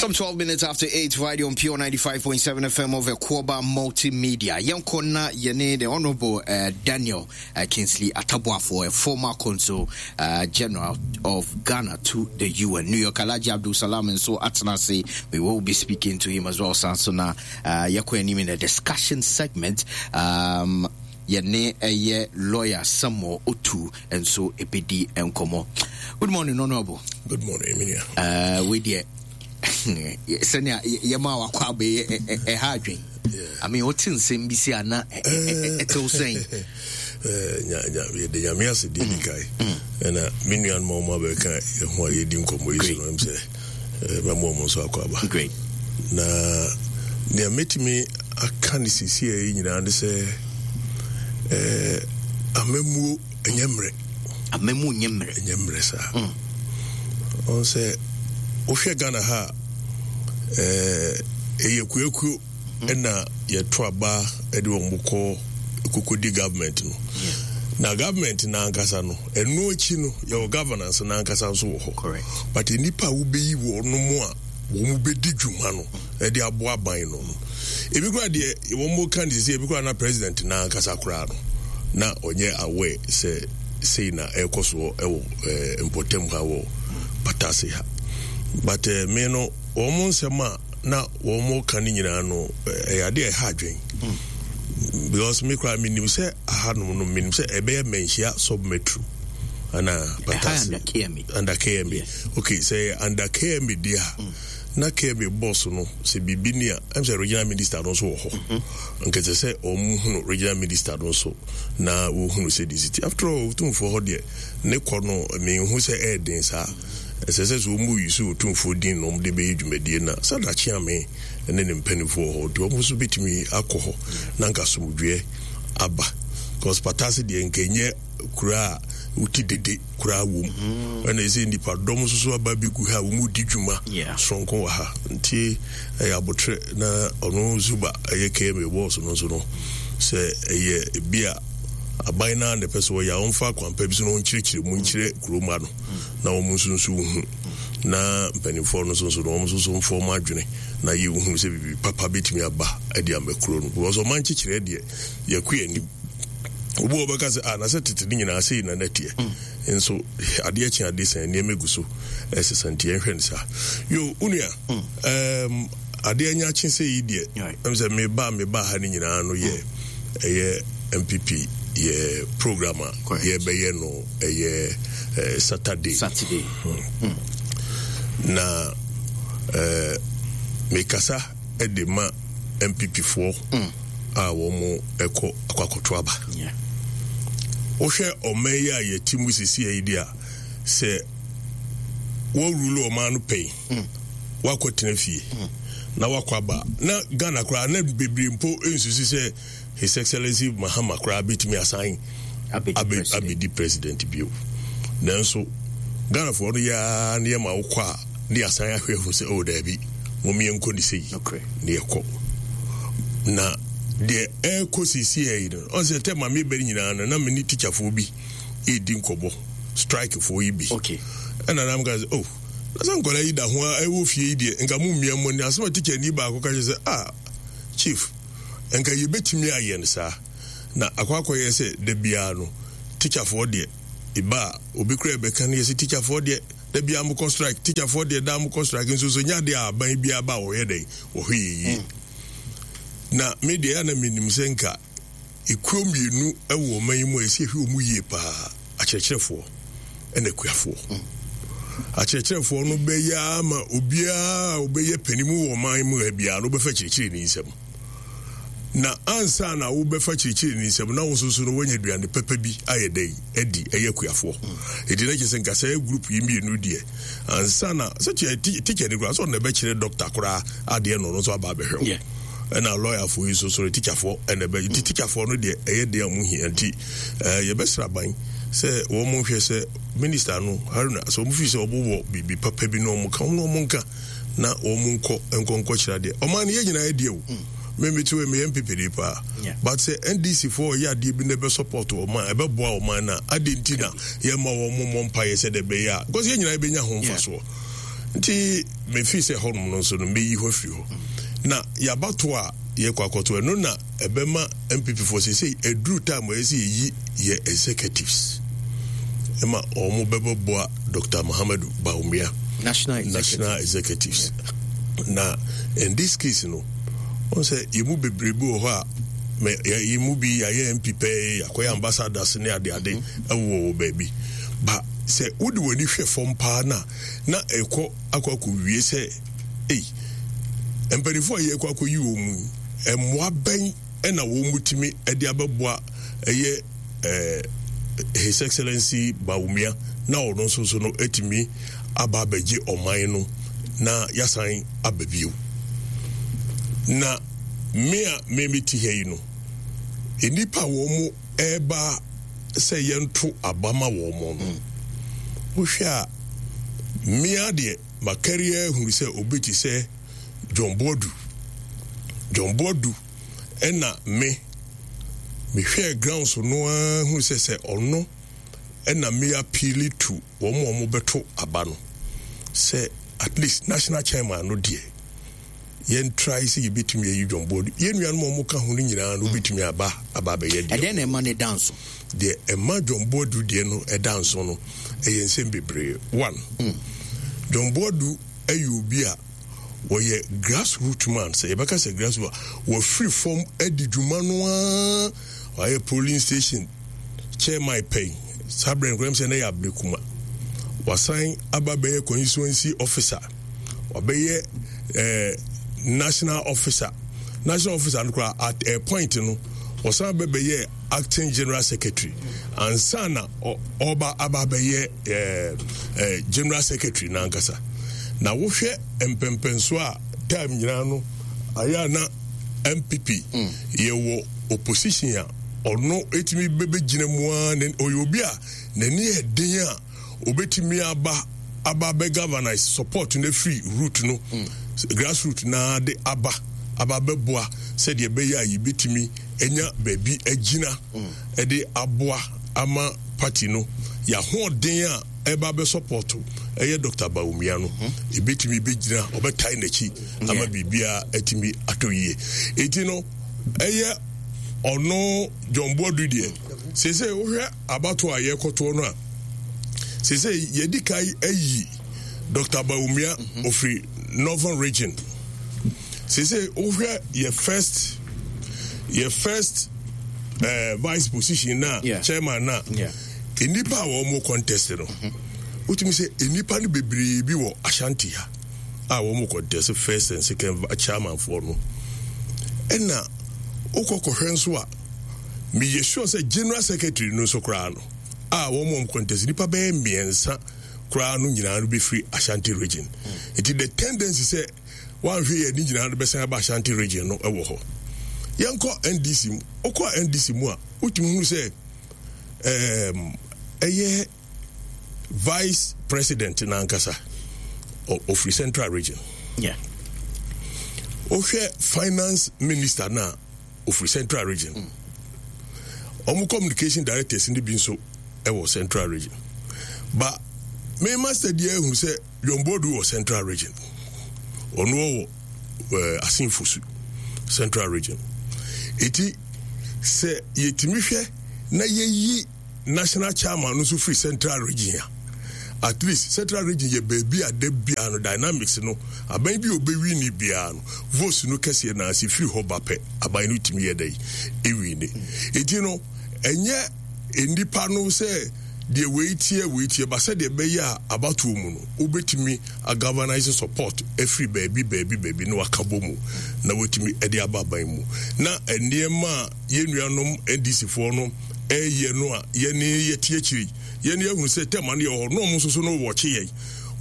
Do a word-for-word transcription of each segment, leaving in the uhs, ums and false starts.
Some twelve minutes after eight, right on Pure ninety-five point seven F M of Akwaaba Multimedia. Yɛnkɔ na yɛne the Honorable uh, Daniel uh, Kingsley Atta Boafo, a former Consul uh, General of Ghana to the U N. New York, Alhaji Abdul Salam, and so Atanase, we will be speaking to him as well. Sansona, uh, yɛkɔ anim in the discussion segment. Um, yɛne ɛyɛ lawyer Samuel Otu nso ɛbɛdi nkɔmmɔ. Good morning, Honorable. Good morning, Emilia. Uh, wei deɛ, sɛnea yɛma wakɔ abɛyɛ ɛha adwen. I mean, wote nsɛm bi si a na ɛtew sɛn? Yɛde Nyame ase deɛ di kae, ɛna me nuanom a ɔma bɛka yɛho a yɛdi nkɔmmɔ yi so no, ɛm sɛ mɛma ɔmo nso akɔ aba. Great. Na nea mɛtumi aka ne sesie yi nyinaa ne sɛ amammuo ɛnyɛ mmerɛ. Amammuo nyɛ mmerɛ. Ɛnyɛ mmerɛ saa. Ɔn sɛ wohwɛ Ghana ha a, ɛyɛ kuakuo ɛna yɛto aba ɛde wɔn kɔ kokodi government no, na government n'ankasa no, ɛno akyi no, yɛwɔ governance n'ankasa nso wɔ hɔ. Correct. But nnipa a wobɛyi wɔn mu a wɔn bɛdi dwuma no ɛde aboa aban no no ebi koraa deɛ wɔn mo ka ne sɛ ebi koraa na president n'ankasa koraa no na ɔnyɛ aware sɛ sei na ɛrekɔ soɔ ɛwɔ ɛɛ mpɔtam ha, wɔ Patase ha. But ɛɛ me no, wɔn mo nsɛm a na wɔn mo ka ne nyinaa no, ɛyɛ adeɛ a ɛha adwen, because me koraa menim sɛ ahanom no, menim sɛ ɛbɛyɛ Manhyia sub metro ana Patase. Under K M A. Under K M A. Yeah. Okay, sɛ under K M A deɛ a, na K M A boss no sɛ biribi ni a, ɛm sɛ regional minister no nso wɔ hɔ. Nkɛsɛ sɛ ɔmo hunu regional minister no nso na wɔhunu sɛ de siti. After all, Otumfoɔ hɔ deɛ, ne kɔ no menhu sɛ ɛɛden saa. Ɛsɛ sɛ sɛ ɔmu yi so Otumfoɔ din na ɔmo de bɛyɛ dwumadie na sɛ dakye ame ne ne mpanimfoɔ wɔ hɔ nti ɔmo nso bɛtumi akɔ hɔ na nka asomdwoeɛ aba, because Patase deɛ, nka ɛnyɛ kura a woti dede koraa wɔ mu, ɛna ɛsɛ nipa dɔm nso so aba bɛgu ha a wɔn di dwuma Yeah. soronko wɔ ha. Nti ɛyɛ abotrɛ na ɔno Zuba ɛyɛ K M A boss no nso no, sɛ ɛyɛ ebi a aban naa na ɛpɛ sɛ ɔyɛ a, ɔmfa akwampa bi so na ɔnkyerɛkyerɛ mu nkyerɛ kuroma no na wɔn nso nso hu, na mpanimfoɔ no nso nso no, wɔn nso so mfa wɔn adwene na yɛhunu sɛ biribi papa bɛtumi aba de ama kuro no, because ɔman kyekyerɛ deɛ, yɛkɔ anim. Obi wɔ bɛka sɛ, ah, na sɛ tete ne nyinaa sei na nɛteɛ nso, adeɛ kye adeɛ sɛn, nneɛma gu so ɛsesa, nti yɛnhwɛ no saa. Yo, onua, um, adeɛ anya kye sɛ yi deɛ, ɛm sɛ meba meba ha no nyinaa no yɛ ɛyɛ N P P yɛ program a Correct. yɛbɛyɛ no ɛyɛ eh, Saturday. Saturday. Na eh, mekasa de ma N P P foɔ a wɔn ɛkɔ akɔ akɔto aba. Yeah. Wohwɛ ɔman yi a yɛte mu sisi yi deɛ a, sɛ wɔrule ɔman no pɛn, wakɔ tena fie na wakɔ aba na Ghana koraa na bebree mpo nsusu sɛ His Excellency Mahama koraa bɛtumi asan abɛdi abe- president. Abɛdi president bio. Nanso Ghanafoɔ no yɛa ne yɛma wokɔ a, ne yɛasan ahwɛ hu sɛ, oh, daabi, mom yɛnkɔ ne sei. Nokorɛ. Ne yɛkɔ na deɛ ɛrekɔ sisi yi no, ɔn sɛ tɛ maame bɛri nyinaa no, na me ne tikyafoɔ bi ɛredi nkɔmmɔ, strikefoɔ yi bi. Okay. Ɛna nam ka sɛ, oh, na sɛ nkɔla yi da ho a ɛwɔ fie yi deɛ, nka mo mmea mmɔ ne asɛm a tikyani baako ka kyerɛ sɛ, ah, chief, nka yɛbɛtumi ayɛ no saa na akɔ akɔyɛ sɛ da biara no tikyafoɔ deɛ ɛba a, obi kora ɛbɛka no yɛ sɛ tikyafoɔ deɛ, da biara mokɔ strike, tikyafoɔ deɛ, daa mokɔ strike. Nso so nyɛ adeɛ a aban biara ba a wɔyɛ dɛn wɔhwɛ yɛ yie. Na me deɛ, ɛyɛ na menim sɛ nka ekuo mmienu wɔ ɔman yi mu a yɛsi ehwɛ wɔn yie paa, akyerɛkyerɛfoɔ ɛna akuafoɔ. Akyerɛkyerɛfoɔ no bɛyɛ ama obiara a ɔbɛyɛ panimu wɔ ɔman mu ha biara no, wobɛfa kyerɛkyerɛ ne nsam, na ansa na wobɛfa kyerɛkyerɛ ne nsam na wo nso so no woanya aduane pɛpɛ bi ayɛ dɛ adi, ɛyɛ akuafoɔ. Ɛti na kyerɛ sɛ nka sɛ group yi mmienu deɛ, ansa na sɛ teacher ni koraa sɛ ɔno na ɛbɛkyerɛ doctor koraa adeɛ no, ɔno nso aba abɛhwɛ wo. Yeah. Ɛna lɔyafoɔ yi nso so no, tikyafoɔ ɛna ɛbɛ nti tikyafoɔ no deɛ, ɛyɛ deɛ a ɔmo hia. Nti ɛɛ yɛbɛsrɛ aban sɛ wɔn mo nhwɛ sɛ minister no Haruna sɛ wɔn fi sɛ ɔmo wɔ biribi papa bi na ɔmo ka, wɔn na ɔmo nka na wɔn nkɔ nkɔ nkɔ kyerɛ adeɛ. Ɔman no yɛ nyinaa yɛ deɛ o, mímí tí wọ́n mi yɛ N P P de paa. Yeah. But sɛ N D C foɔ yɛ adeɛ bi na ɛbɛ support ɔman, ɛbɛboa ɔman na adeɛ nti na yɛ ma wɔn mo mmɔ mpa yɛ sɛ de bɛyɛ a, because yɛn nyinaa yɛbɛnya ho mfasoɔ. Nti mefi sɛ hɔnom no nso no, meyi hɔ afiri hɔ na yɛabato a yɛkɔ akɔto. Ɛno na ɛbɛma N P P foɔ sɛ sɛ ɛduru time a ɛsɛ yɛyi yɛ executives ɛma ɔmo bɛbɛboa Doctor Mahamadu Bawumia. National executive. National executives. Na in this case no, wɔn sɛ yɛn mu bebree bi wɔ hɔ a mɛ yɛ yɛn mu bi yɛayɛ M P pɛɛ, yɛakɔyɛ ambassadors ne adeade ɛwɔ wɔ baabi ba. Sɛ wode w'ani hwɛ fam paa na na ɛkɔ akɔ akɔ wie sɛ ei, mpanimfoɔ a yɛkɔ akɔyi wɔn mu yi, mmoa bɛn ɛna wɔn mu tumi ɛde abɛboa ɛyɛ ɛɛ His Excellency Bawumia na ɔno nso so no etumi aba abɛgye ɔman no na yasan aba bio? Na me a me me ti ha yi no, nnipa a wɔn mo ɛreba sɛ yɛnto aba ma wɔn mo no, wohwɛ a, mmea deɛ makari ahunu sɛ obi te sɛ John Boadu. John Boadu ɛna me mehwɛɛ ground so no ara hunu sɛ sɛ ɔno ɛna me appeal to wɔn a wɔn bɛto aba no sɛ at least national chairman no deɛ, yɛn try sɛ yɛbɛtumi ayi John Boadu. Yɛn nuanom a wɔka ho no nyinaa no wobɛtumi aba aba abɛyɛ deɛ. Ɛdɛn na ɛma ne da nso? Deɛ ɛma John Boadu deɛ no ɛda nso no, ɛyɛ nsɛm bebree. One, John Boadu ɛyɛ obi a wɔyɛ grassroot man. Sɛ yɛbɛka sɛ grassroot a, wɔfiri fam adi dwuma no ara. Wɔayɛ polling station chairman pɛn, saa berɛ nkɔyɛm sɛ na yɛ Ablekuma. Wasan aba bɛyɛ constituency officer, wabɛyɛ eh, national officer. National officer no koraa, at a point no, ɔsan bɛbɛyɛ acting general secretary ansa na ɔba aba bɛyɛ eh, eh, general secretary n'ankasa. Na wohwɛ mpɛmpɛnso a time nyinaa no ayɛ a na N P P mm. yɛwɔ opposition a, ɔno etumi bɛbɛgyina mu ara. Ɔyɛ obi a n'ani yɛ den a obetumi aba aba bɛ galvanize support no firi root no mm. grassroot na de aba aba bɛboa sɛdeɛ ɛbɛyɛ a yɛbɛtumi anya baabi agyina ɛde aboa ama party no. Yɛahoɔden a ɛba bɛ support ɛyɛ Doctor Bawumia no, ebɛtumi bɛgyina, ɔbɛtae n'akyi ama biribiara atumi atɔ yie. Eti no ɛyɛ ɔno John Boadu deɛ. Sese wohwɛ abato a yɛkɔtoɔ no a, sese yɛdi kan ayi Doctor Bawumia ofiri Northern Region. Sese wohwɛ yɛ first yɛ first uh, vice position na yeah. chairman na yeah. nnipa a wɔn mo contest no, wotumi sɛ nnipa no bebree bi wɔ Ashanti ha a wɔn mo contest first and second chairman foɔ no. Ɛna wokɔ kɔhwɛ nso a, meyɛ sure sɛ general secretary no nso koraa no a wɔn mo contest, nipa bɛyɛ mmiɛnsa koraa no nyinaa no bɛfiri Ashanti Region. Nti the tendency sɛ wanhwɛ yɛ ne nyinaa no bɛsan aba Ashanti Region no wɔ hɔ. Yɛnkɔ N D C mu. Wokɔ N D C mu a, wotumi hunu sɛ ɛyɛ vice president n'ankasa ofiri Central Region. Yeah. Wohwɛ finance minister no a, ofiri Central Region. Ɔmo communication directors no bi nso ɛwɔ Central Region. Ba me master deɛ ehu sɛ John Boadu wɔ Central Region. Ɔno wɔ ɛɛ Assin Fosu, Central Region. Eti sɛ yɛtumi hwɛ na yɛyi national chairman no nso firi Central Region a, at least Central Region yɛ baabi a da biara no dynamics no, aban bi a obɛwi ne biara no, votes no kɛseɛ na ase firi hɔ ba pɛ, aban no tumi yɛ dɛ ewi ne. Eti no ɛnyɛ nnipa no sɛ deɛ wei tie wei tie ba, sɛdeɛ ɛbɛyɛ a abatoɔ mu no wobɛtumi agalvanize support afiri baabi baabi baabi na waka bɔ mu na watumi de aba aban mu. Na nneɛma a yɛn nuanom N D C foɔ no ɛyɛ no a, yɛne yɛte akyiri, yɛne yɛhunu sɛ tɛma no yɛ hɔ na ɔmo nso so no wɔkye yɛn,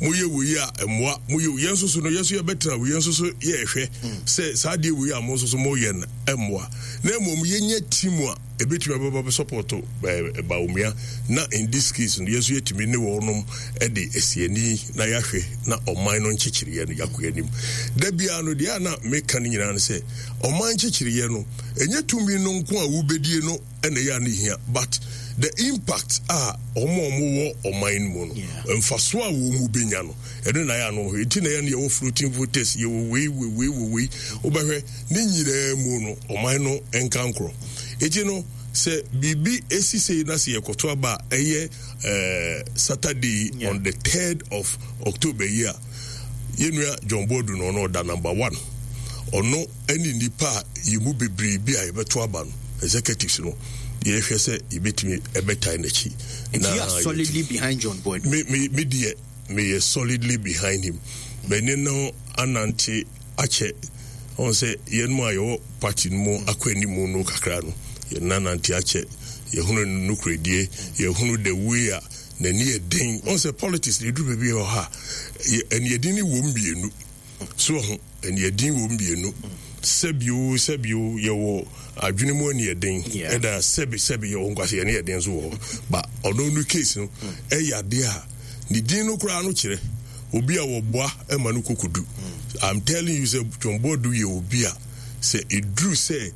moyɛ wei a mmoa moyɛ. Yɛn nso so no, yɛn nso yɛbɛtena wei, yɛn nso so yɛrehwɛ sɛ saa adeɛ wei a mo nso so moyɛ no mmoa, na mmom yɛnyɛ team a Ebetumi abɛba bɛ support ɛɛ Bawumia, na in this case no, yɛn nso yɛtumi ne wɔnom ɛde esiani na yɛahwɛ na ɔman no nkyekyereɛ no yɛakɔ anim. Da biara no deɛ a na meka no nyinaa no sɛ ɔman nkyekyereɛ no, ɛnyɛ tumi no nko a wobɛdie no ɛna ɛyɛ a no hia, but the impact a ɔmo a ɔmo wɔ ɔman no mu no, mfaso a wɔn mu benya no, ɛno na ɛyɛ ano hɔ. Eti na ɛyɛ no, yɛwɔ floating voters, yɛwɔ wei, wei, wei, wɔ wei, wobɛhwɛ ne nyinaa mu no, ɔman no nka nkorɔ. Eti no sɛ biribi esi sei na sɛ yɛkɔto aba a, ɛyɛ ɛɛ Saturday Yeah. on the third of October yi a, yɛnua John Boadu no, ɔno ɔda number one. Ɔno ɛne nipa a yɛn mu bebree bi a yɛbɛto aba no, executives no, yɛhwɛ sɛ yɛbɛtumi ɛbɛtae n'akyi. Nti you are solidly behind John Boadu? me me me deɛ, meyɛ solidly behind him. Mɛne no anante akyɛ. Ɔn sɛ yɛn mu a yɛwɔ party no mu akɔ anim no kakra no, yɛn nanante akyɛ, yɛhunu no nokoredie, yɛhunu the way a n'ani yɛ den. Ɔn sɛ politics na ɛduru baabi wɔ ha, ɛniɛden ne wɔ mmienu so ho, ɛniɛden wɔ mmienu. Sɛbio sɛbio, yɛwɔ adwene mu aniɛden, ɛna sɛbi sɛbi, yɛwɔ nkwasi ɛne yɛden nso wɔ hɔ. Ba ɔno no case no, ɛyɛ adeɛ a ne din no koraa no kyerɛ obi a wɔboa ɛma no kokodu. I'm telling you sɛ John Boadu yɛ obi a sɛ eduru sɛ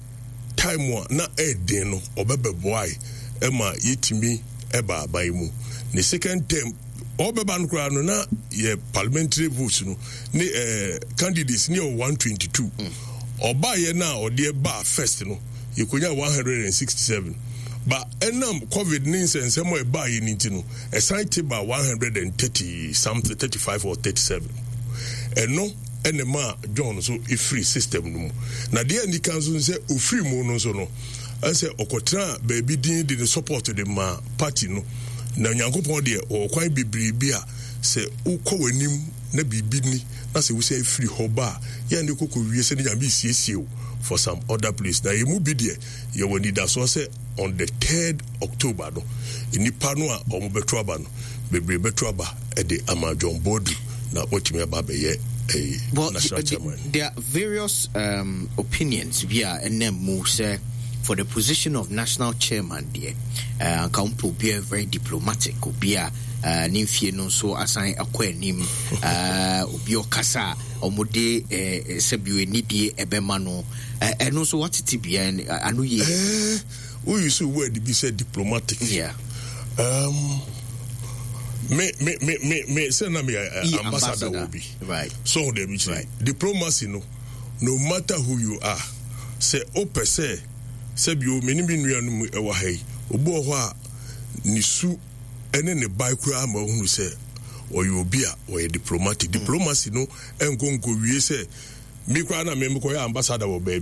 time a na ɛɛden no, ɔbɛbɛboae ɛma yɛtumi ɛba aban mu. Ne second term ɔbɛba no koraa no, na yɛ parliamentary votes no ne ɛɛ candidates ne yɛ one twenty two. Ɔbaayɛ no a ɔde baa first no, yɛkonya one hundred and sixty seven, ba ɛnam COVID ne nsɛnsɛm a ɛbaayɛ no nti no, ɛsan te ba one hundred and thirty something, thirty five or thirty seven. Ɛno ɛna ma John nso efiri system no mu. Na deɛ nika nso sɛ ofiri mu no nso no, ɛsɛ ɔkɔtena baabi din de ne support de ma party no. Na Nyankopɔn deɛ, ɔwɔ kwan bebree bi a sɛ wokɔ w'anim na biribi ni na sɛ wosɛ efiri hɔ ba a, yɛn de kɔkɔ wie sɛ ne Nyame siesie o for some other place. Na yɛn mu bi deɛ, yɛwɔ anidasoɔ sɛ on the third October no, nipa no a wɔn bɛto aba no bebree bɛto aba ɛde ama John Boadu na wɔtumi aba abɛyɛ ɛyɛ Well, national the, chairman. There are various um, opinions bi a ɛnam mu sɛ for the position of national chairman deɛ, uh, anka wopɛ obi a very diplomatic, obi a uh, ne mfie no nso asan akɔ anim, uh, obi a ɔkasa a ɔmode uh, sɛbio anidie ɛbɛma no. uh, ɛno nso watete bia ano yie. Eh, wo use word bi sɛ diplomatic. Yeah. Um, me me me me me sɛ na me uh, E ambassador wɔ bi. Right. So ɔde bi kyerɛ Right. diplomacy no, no matter who you are, sɛ wopɛ sɛ sɛbio me ne me nuanom ɛwɔ ha yi, obi wɔ hɔ a ne su ɛne ne bae koraa ma ohunu sɛ ɔyɛ obi a ɔyɛ diplomatic. Diplomacy no ɛnkɔ nkɔ wie sɛ me koraa na me mekɔyɛ ambassador wɔ baabi.